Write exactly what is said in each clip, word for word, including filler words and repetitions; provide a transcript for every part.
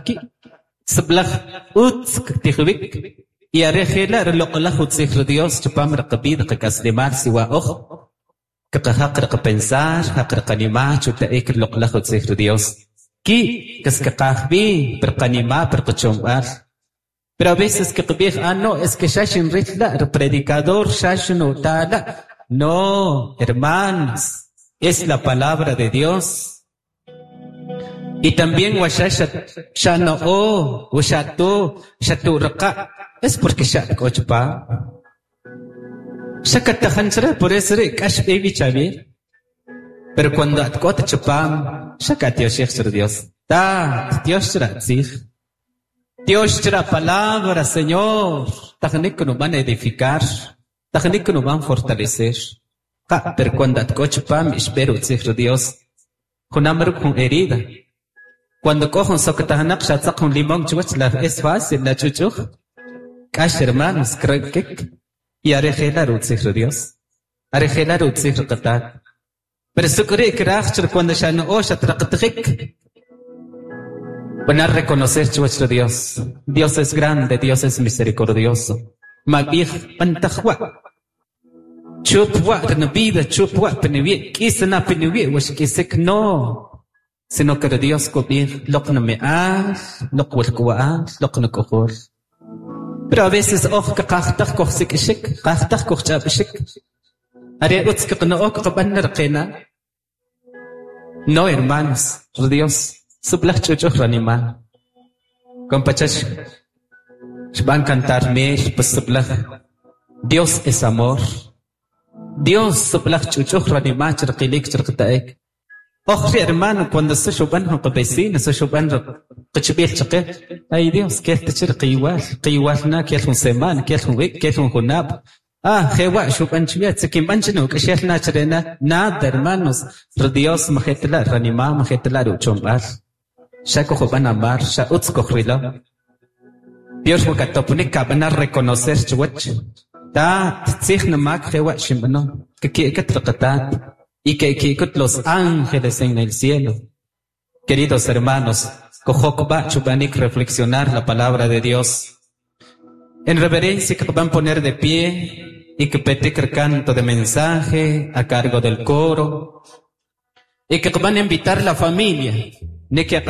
Ki' sib'alaj utz ktijwik y are jela' riloq'laj utzij ri Dios chupam riqab'ida qak'aslemal siwa oj kaqajaq riqapensar jaq riqanima' chuta'ik riloq'laj utzij ri Dios ki' qas kaqaj b'i pirqanima' pirqachomb'al pero a veces kqab'ij ah no es que xa xinril la' ri predicador xa xinutala no hermanos es la palabra de Dios y también wa xa xa no'o wa xa tu xa tu'riqa' es porque xa k'o chupam xa katajan chire por eso ri' k'ax b'i chawij pero cuando at k'o ta chupam xa katioxij chire Dios Tat Dios chira tzij Dios chira palabra Señor tajnik kunub'an edificar tajnik kunub'an fortalecer qa pero cuando at k'o chupam ixb'er utzij ri Dios junam ruk' jun herida cuando k'o jun sokatajnaq xatzaq jun limón chuwach la es fácil la ch'uch'uj k'ax hermanos kik y are jela rutzij ri Dios are jela rutzij ri qatat pero suk'ri' kraj chir cuando xano'o xatraqatijik van a reconocer chuwach ri Dios Dios es grande Dios es misericordioso mab'ij b'antaj wa' chup wa' rinabida chup wa' piniwi' k'isna piniwi' wa xk'isik no sino que ri Dios kub'ij loq nami'al loq walk'uwa'al loq nak'ujul pero a veces oj kaqajtaj kojsik'ixik qajtaj kojch'ab'ixik are utz kaqna'o kaqab'an riqina no hermanos ri Dios sib'alaj ch'uch'uj ranima' kompachax xb'an cantar mel pues sib'alaj Dios es amor Dios sib'alaj ch'uch'uj ranima' chirqilik chirqita'ik oj ri hermano cuando se xub'an jun qavecino se xub'an qichb'il chaqe ay Dios kel ta chir qiwal qiwal na kel jun semana kel jun ik kel jun junab' ah jewa xub'an chwiya tzikinb'an chinu k'axel na chirena nada hermanos ri Dios majetla ranima' majetla ruchomb'al xa kojub'an amar xa utz kojrilo Dios wakatopunik kab'ana reconocer chuwach tat tzij namak jewa xinb'ano kaki'kat riqatat y que kikut los ángeles en el cielo. Queridos hermanos, kojokba chubanik reflexionar la palabra de Dios. En reverencia que van a poner de pie y que petik el canto de mensaje a cargo del coro y que van a invitar la familia. Ni que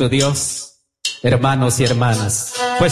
Dios, hermanos y hermanas. Pues